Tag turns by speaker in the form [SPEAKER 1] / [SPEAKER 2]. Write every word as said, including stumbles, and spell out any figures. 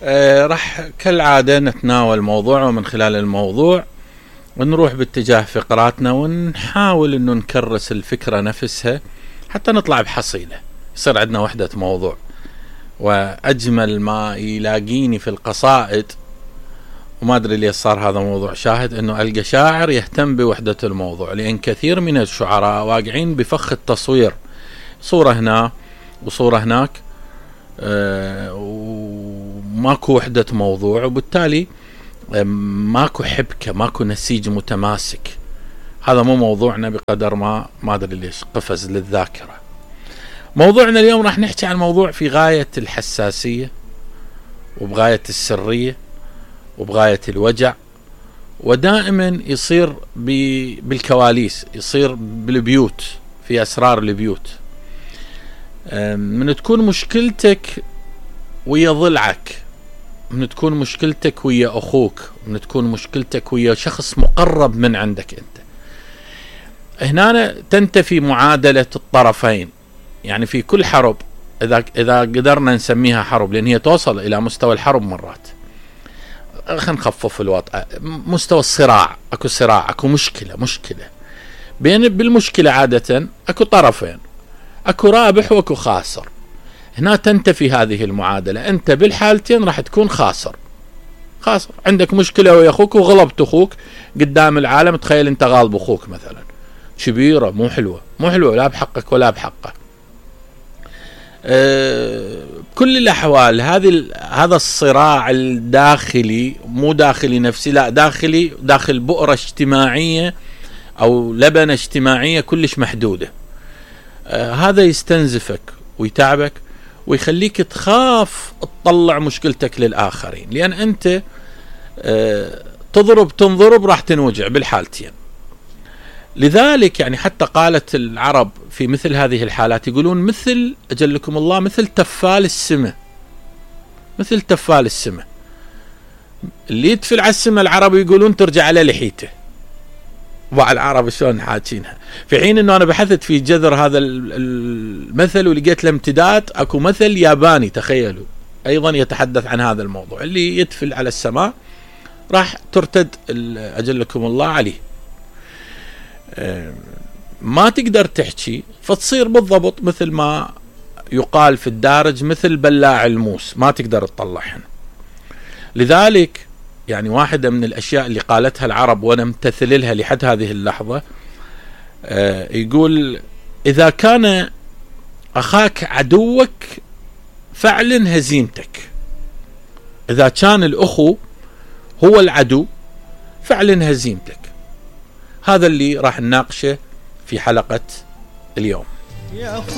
[SPEAKER 1] آه راح كالعادة نتناول موضوع، ومن خلال الموضوع ونروح باتجاه فقراتنا، ونحاول انه نكرس الفكرة نفسها حتى نطلع بحصيلة، يصير عندنا وحدة موضوع. واجمل ما يلاقيني في القصائد، وما ادري ليش صار هذا موضوع شاهد، انه القى شاعر يهتم بوحدة الموضوع، لان كثير من الشعراء واقعين بفخ التصوير، صورة هنا وصورة هناك، أه وماكو وحدة موضوع، وبالتالي ماكو حبكة، ماكو نسيج متماسك. هذا مو موضوعنا بقدر ما ما ادري ليش قفز للذاكرة. موضوعنا اليوم راح نحكي عن موضوع في غاية الحساسية، وبغاية السرية، وبغاية الوجع، ودائما يصير بالكواليس، يصير بالبيوت، في أسرار البيوت. من تكون مشكلتك ويا ضلعك، من تكون مشكلتك ويا أخوك، من تكون مشكلتك ويا شخص مقرب من عندك أنت. هنا تنتفي معادلة الطرفين. يعني في كل حرب، إذا إذا قدرنا نسميها حرب، لأن هي توصل إلى مستوى الحرب مرات، خلينا نخفف الوضع، مستوى الصراع، أكو صراع، أكو مشكلة مشكلة بين بالمشكلة عادة أكو طرفين، أكو رابح وأكو خاسر. هنا تنتفي هذه المعادلة، أنت بالحالتين راح تكون خاسر. خاسر، عندك مشكلة ويا أخوك وغلبت أخوك قدام العالم، تخيل أنت غالب أخوك مثلا، كبيرة مو حلوة، مو حلوة لا بحقك ولا بحقه. أه بكل الأحوال هذه هذا الصراع الداخلي، مو داخلي نفسي، لا داخلي، داخل بؤرة اجتماعية أو لبنة اجتماعية كلش محدودة. أه هذا يستنزفك ويتعبك ويخليك تخاف تطلع مشكلتك للآخرين، لأن أنت أه تضرب تنضرب راح تنوجع بالحالتين. لذلك يعني حتى قالت العرب في مثل هذه الحالات، يقولون مثل أجلكم الله مثل تفال السمة، مثل تفال السمة اللي يتفل على السمة، العرب يقولون ترجع على لحيته. وعلى العرب شلون حاكينها، في حين انه انا بحثت في جذر هذا المثل ولقيت له امتداد، اكو مثل ياباني تخيلوا ايضا يتحدث عن هذا الموضوع، اللي يتفل على السماء راح ترتد أجلكم الله عليه. ما تقدر تحكي، فتصير بالضبط مثل ما يقال في الدارج مثل بلاع الموس، ما تقدر تطلعهن. لذلك يعني واحدة من الأشياء اللي قالتها العرب وأنا امتثل لها لحد هذه اللحظة، يقول إذا كان أخاك عدوك فاعلن هزيمتك. إذا كان الأخو هو العدو فاعلن هزيمتك. هذا اللي راح نناقشه في حلقة اليوم.